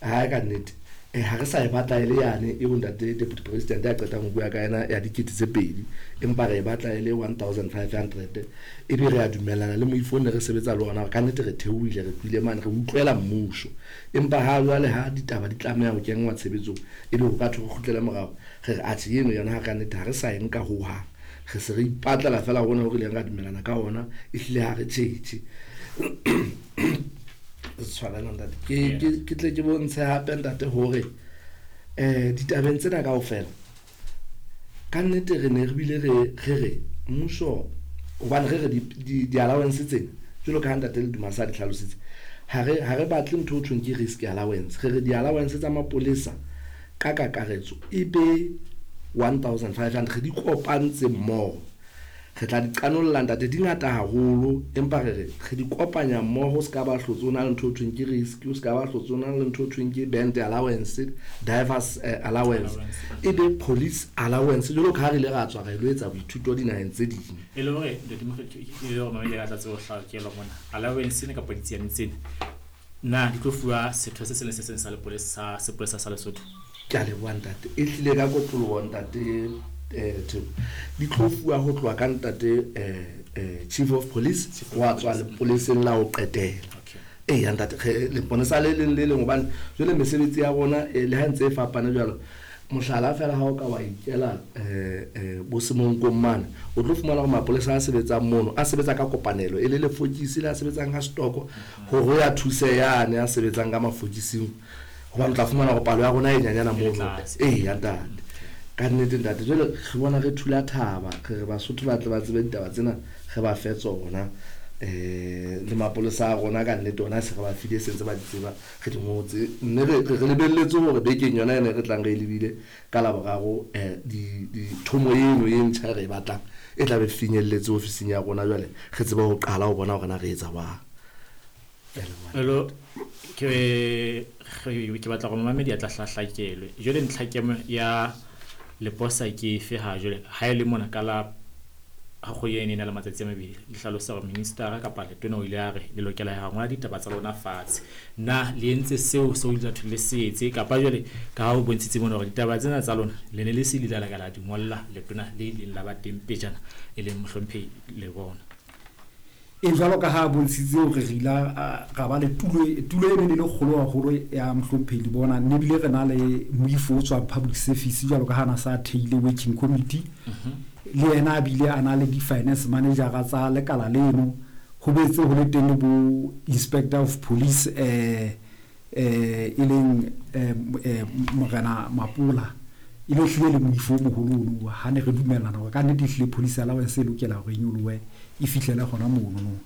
Ha ka nnete ha re sa e batla e le yane eo ntate Deputy President a qetang ho bua ka yena ya 2000, empa re e batla e le 1500. Ebe re a dumellana le moifo ne re sebetsa le ona ka nnete, re theohile, re tlohile mane, re utlwela mmuso. Empa ha jwale ha ditaba di tlameha ho kenngwa tshebetsong, ebe ho ka thwe re kgutlele morao, re re atjhe, eno yona ha ka nnete ha re sa e nka hohang, re se re ipatlela fela hona ho re ileng ra dumellana ka ona. Ehlile ha re tjhetjhe tshwarela ntate, ke tle ke bontshe hape ntate hore ditabeng tsena kaofela ka nnete re ne re bile re mmuso, hobane re re di-allowance tsena jwalo ka ha ntate Ledumasa a di hlalositse, ha re batle ntho ho thweng ke risk allowance. Re re di-allowance tsa mapolesa ka kakaretso e be 1500, re di kopantse mmoho. Re tla di qanolla ntate, di ngata haholo, empa re re re di kopanya mmoho. O se ka ba hlotse o na le ntho ho thweng ke risk, o se ka ba hlotse o na le ntho ho thweng ke band allowance, divers allowance, e be police allowance jwalo ka ha re ile ra tswa ra ilo etsa boithuto dinaheng tse ding. E le hore ntate Mokgethi, e le hore mamedi a tla tsebe ho hlakelwa mona, allowance ena kapa ditsiane tsena na di tlo fuwa setho se seng le se seng sa lepolesa, sa sepolesa sa Lesotho? Ke a leboha ntate, e hlile ka kotloloho ntate Theko, di tlo fuwa ho tloha ka ntate chief of police wa tswa lepoleseng la ho qetela. Eya ntate, leponesa le leng le leng, hobane jwale mesebetsi ya rona le ha ntse e fapane jwalo. Mohlala fela, ha o ka wa ikela bo Semonkong mane, o tlo fumana hore mapolesa a sebetsang mono a sebetsa ka kopanelo, e le lefokisi le a sebetsang ka setoko hore ya thuse yane a sebetsang ka mafokising, hobane o tla fumana hore palo ya rona e nyanyana mono. Eya ntate, ka nnete ntate, jwale re bona re thula thaba, re re Basotho ba tle ba tsebe ditaba tsena, re ba fe tsona. Le mapolesa a rona ka nnete ona se re ba file, se ntse ba di tseba, re di ngotse, mme re lebelletse hore bekeng yona ene re tlang re e lebile ka Laboraro, dithomo eno e ntjha re e batlang e tla be finyelletse ofising ya rona, jwale re tsebe ho qala ho bona hore na re etsa jwang. Hello, ke batla gore mamedi a tla hlahlakelwe. Jwale ntlhakemo ya leposa ke efe ha jwale ha e le mona ka la ha kgwedi ena e na le matsatsi a mabedi, le hlalosa hore ministera kapa letona o ile a re le lokela ya ngola ditaba tsa lona fatshe? Na le entse seo ile thwe le se etse, kapa jwale ka ha o bontshitse mona hore ditaba tsena tsa lona le ne le se le ile la ka la di ngolla letona le ileng la ba teng pejana, e leng mohlomphehi le bona? E jwalo ka ha a bontshitse hore re ile ra ba le tulo e ne le kgolo haholo ya mohlomphehi le bona, mme ebile re na le moifo o tswang public service, jwalo ka ha na sa theile working committee, le yena a bile a na le di-finance manager tsa lekala leno, ho boetse ho le teng le bo inspector of police e leng Morena Mapola, e le hlile le moifo o moholo ono. Ha ne re dumellana hore ka nnete ehlile police allowance e lokela hore e nyolohe e fihlele hona mono no.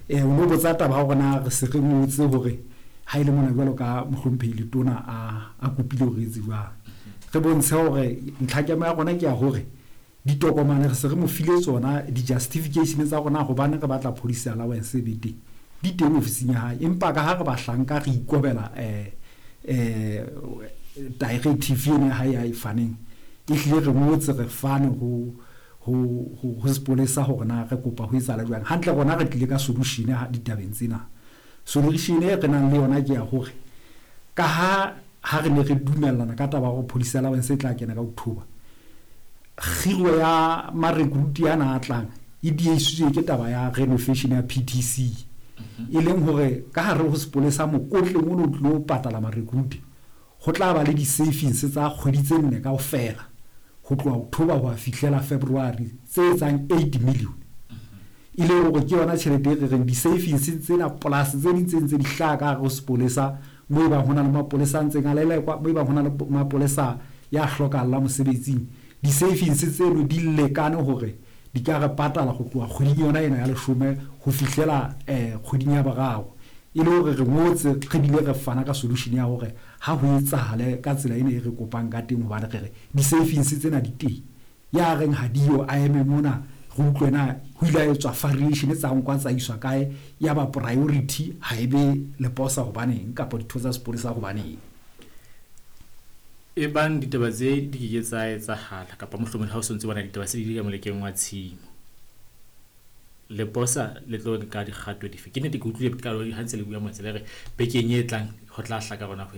O no botsa taba ya hore na re se re ngotse hore ha e le mona jwalo ka mohlomphehi letona a kopile hore etse jwang. Re bontshe hore ntlhakemo ya rona ke ya hore ditokomane re se re mo file tsona, di-justification tsa rona hobane re batla police allowance e be teng, di teng ofising ya hae. Empa ka ha re bahlanka re ikobela directive eno ya hae ya e faneng, ehlile re ngotse, re fane ho sepolesa hore na re kopa ho etsahala jwang. Hantle rona re tlile ka solution ditabeng tsena. Solution e re nang le yona ke ya hore ka ha re ne re dumellana ka taba ya hore police allowance e tla kena ka October, kgiro ya marekruti ana a tlang e diehisitswe ke taba ya renovation ya PTC, e leng hore ka hare ho sepolesa mokotleng ono o tlilo patala marekruti ho tla ba le di-savings tsa kgwedi tse nne kaofela ho tloha October ho a fihlela February tse etsang 8 million, e le hore ke yona tjhelete e re reng di-savings tsena plus tse ding tse ntse di hlaha ka hare ho sepolesa, mo e bang ho na le mapolesa a ntseng a lelekwa, mo e bang ho na le mapolesa ya hlokahallang mosebetsing, di-savings tseno di lekane hore di ka re patala ho tloha kgweding yona ena ya leshome ho fihlela kgweding ya boraro. E le hore re ngotse, re bile re fana ka solution ya hore ha ho etsahale ka tsela ena e re kopang ka teng, hobane re re di-savings tsena di teng. Ya reng ha diyo a eme mona re utlwe na ho ile ha etswa variation tsa nkwa tsa iswa kae, ya ba priority ha e be leposa hobaneng kapa ditho tsa sepolesa hobaneng. E bang ditaba tse di ke ke tsa etsahala, kapa mohlomong ha o sontse bona ditaba se di le ka molekeng wa tshimo, leposa le tlo nka dikgato dife? Ke nnete ke utlwile ka ha ntse le bua motse le re bekeng e tlang ho tla hlaka rona ho